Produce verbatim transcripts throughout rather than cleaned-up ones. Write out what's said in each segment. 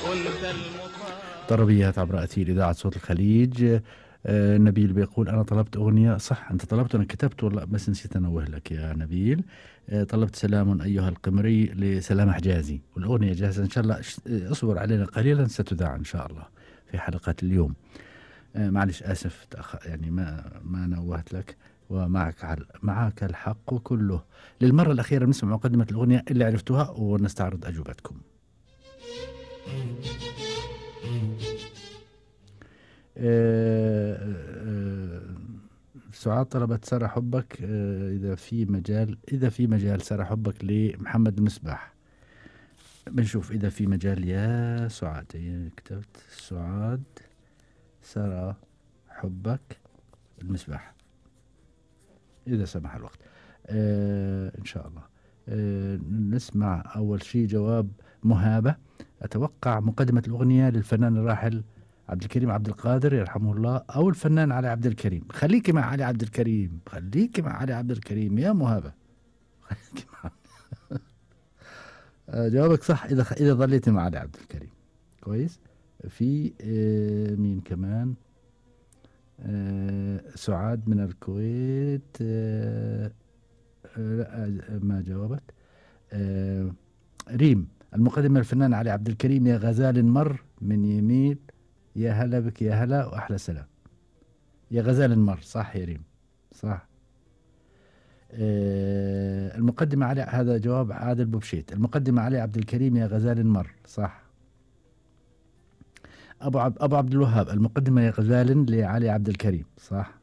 وانت المطاع. طربيات عبر أثير إذاعة صوت الخليج. آه نبيل بيقول أنا طلبت أغنية، صح أنت طلبت أنا كتبت والله بس نسيت أنوه لك يا نبيل. آه طلبت سلام أيها القمري لسلام حجازي، والأغنية جاهزة إن شاء الله. اصبر علينا قليلا ستذاع إن شاء الله في حلقات اليوم. آه معلش آسف تأخ... يعني ما ما نوهت لك. ومعك على... معك الحق كله. للمرة الأخيرة نسمع مقدمة الأغنية اللي عرفتوها ونستعرض أجوبتكم. آه آه سعاد طلبت سارة حبك. آه إذا في مجال إذا في مجال سارة حبك لمحمد المصباح. بنشوف إذا في مجال يا سعاد. هي كتبت سعاد سارة حبك المصباح إذا سمح الوقت. آه إن شاء الله. آه نسمع أول شيء جواب مهابة. أتوقع مقدمة الأغنية للفنان الراحل عبد الكريم عبد القادر يرحمه الله، أو الفنان علي عبد الكريم. خليكي مع علي عبد الكريم، خليكي مع علي عبد الكريم يا مهابة. خليكي مع آه جوابك صح إذا إذا ظليتي مع علي عبد الكريم. كويس. في آه مين كمان؟ آه سعاد من الكويت. آه آه ما جاوبت. آه ريم المقدمة الفنان علي عبد الكريم يا غزال مر من يمين يا هلا بك يا هلا وأحلى سلام. يا غزال مر صح يا ريم صح. آه المقدمة علي، هذا جواب عادل بوبشيت. المقدمة علي عبد الكريم يا غزال مر صح. أبو عب أبو عبد الوهاب المقدمة يا غزال لعلي عبد الكريم صح.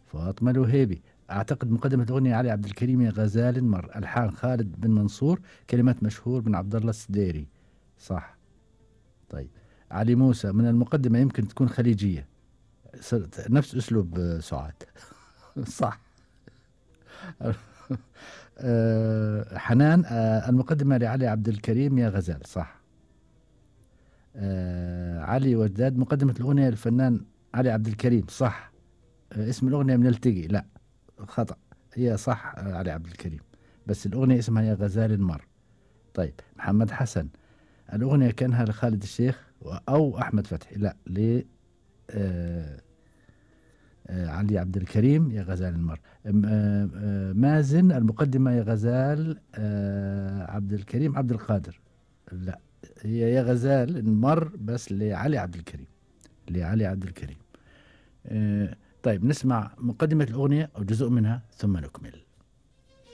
فاطمة الوهيبي أعتقد مقدمة أغنية علي عبد الكريم يا غزال مر، ألحان خالد بن منصور، كلمات مشهور بن عبد الله السديري صح. طيب علي موسى من المقدمة يمكن تكون خليجية، نفس أسلوب سعاد صح. أه حنان أه المقدمة لعلي عبد الكريم يا غزال صح. أه علي وجداد مقدمة الأغنية للفنان علي عبد الكريم صح. أه اسم الأغنية من التقي، لا خطأ، هي صح. أه علي عبد الكريم بس الأغنية اسمها يا غزال مر. طيب محمد حسن الأغنية كانها لخالد الشيخ أو أحمد فتحي، لا ل أه أه علي عبد الكريم يا غزال المر. أه أه مازن المقدمة يا غزال أه عبد الكريم عبد القادر، لا هي يا غزال المر بس لعلي عبد الكريم لعلي عبد الكريم. أه طيب نسمع مقدمة الأغنية أو جزء منها ثم نكمل.